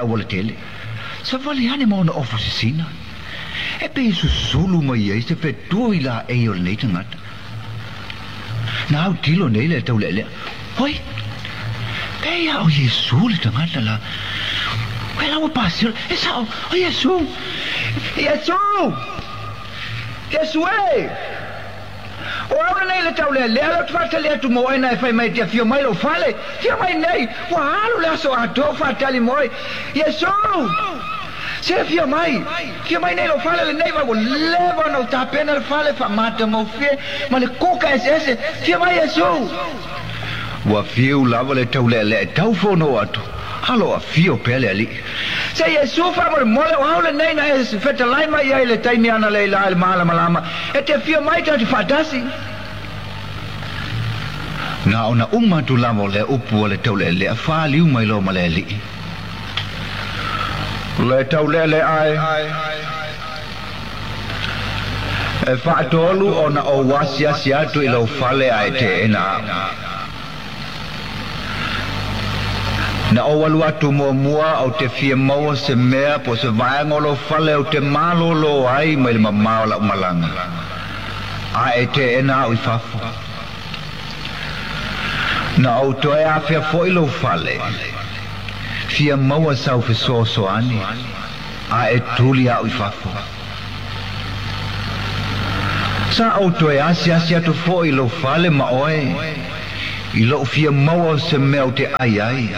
aualatele. Savali ane ma ona ofu sisina. E pei e susulu mai ai se fetua i laei o lenei tagata. Na autilo nei le taulealea. Oi, pei a o Iesu le tagata la. Oi la ua pasio, e sao, o Iesu! Iesu! Iesu e! O au lenei le taulealea lea ou te faatali atu mo oe na e fai mai e te afio mai lou fale. Afio mai nei, ua alu le aso atoa o faatali mo oe. Iesu! Se afio mai! Afio mai nei lou fale lenei vaai ua leva ona ou tapena le fale faamatagofie ma le kuka eseese. Afio mai Iesu! Ua fiu lava le taulealea e tau fono atu, a lo afio pea le Alii. Se Iesu faamolemole o au lenei na e fetalai mai ai le taimi analeila i le malamalama e te afio mai tatou te faatasi. Na ona uma atu lava o lea upu a le taulealea faliu mai loa ma le Alii. Le taulealea e. E faatolu ona ou asiasi atu i lou fale ae teena au. Na ou alu atu muamua ou te fia maua se mea po o se vaega o lou fale ou te malōlō ai mai le mamao o lau malaga, a e teena au i fafo. Na ou toe afea foi lou fale, fia maua sau fesoasoani, a e tuli au i fafo. Sa ou toe asiasi atu foi i lou fale ma oe, i lou fia maua o se mea ou te ai ai,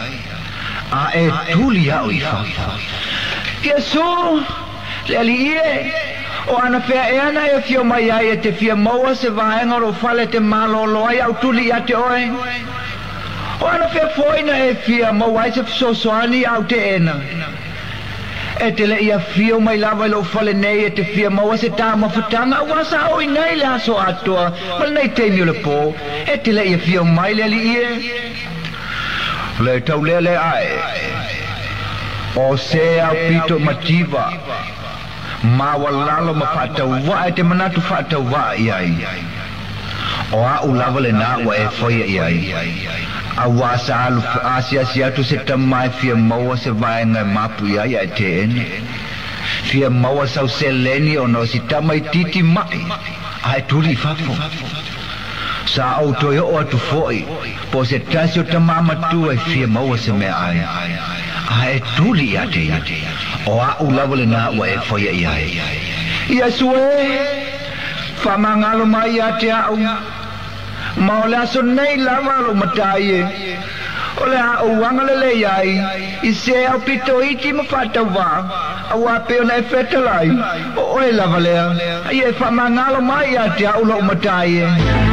a e tuli au i fafo. Iesu, le Alii e, o anafea ea na e afio mai ai e te fia maua se vaega o lou fale e te malōlō ai au tuli ia te oe? O anafea foi na e fia maua ai se fesoasoani au teena? E te le i afio mai lava i lou fale nei e te fia maua se taumafataga aua sa ou i nei le aso atoa ma lenei taimi o le po. E te le i afio mai le Alii e. Le taulealea ae o se aupito mativa maualalo ma faatauvaa e te manatu faatauvaa i ai. O a'u lava lenā ua e faia i ai, auā sa alu asiasi atu se tama e fia maua se vaega e mapu i ai ae teena. Fia maua sau seleni ona o si tama itiiti ma'i ae tuli i fafo. Sa ou toe oo atu foi po o se tasi o tama matua e fia maua se meaai ae tuli ia te ia. O a'u lava lenā ua e faia i ai. Iesu e! Faamagalo mai ia te a'u, ma o le aso nei lava lou matai e, o le a ou agalelei ai i se aupito iti ma faatauvaa, auā pei ona e fetalai, o oe lava lea, a ia e faamagalo mai ia te a'u lou matai e.